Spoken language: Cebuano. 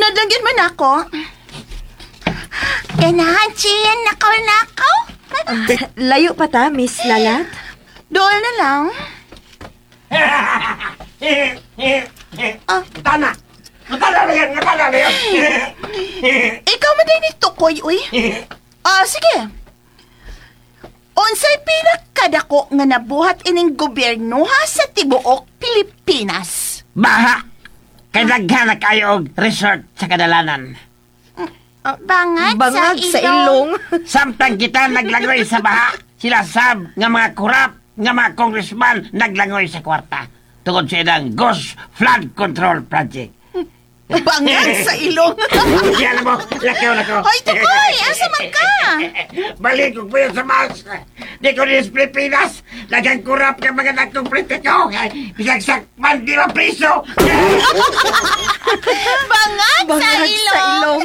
Sunod lang yun man ako. Ganahan siya nakaw-nakaw. Layo pa ta, Miss Lalat. Dool na lang. Ah. Tana! Tana na yan! Tana na yan! Ikaw man din ni Tukoy, uy. Ah, sige. Unsay pinakadako nga nabuhat ining gobyernoha sa tibuok Pilipinas? Baha! Kay daghan na kayo og resort sa kadalanan. Bangag, Bangag sa ilong. Samtang kita naglangoy sa baha, sila sab nga mga kurap nga mga congressman naglangoy sa kwarta. Tungod sa ilang Ghost Flood Control Project. Bangag sa ilong. Yan mo, lakaw na ko. Hoy, Tukoy, asa man ka? Balik ko po sa mas. Di ko ni Pilipinas. Lagang kurap ka mga nagkong politiko. Bisag sakman di ba priso. Bangag, Bangag sa ilong. sa ilong.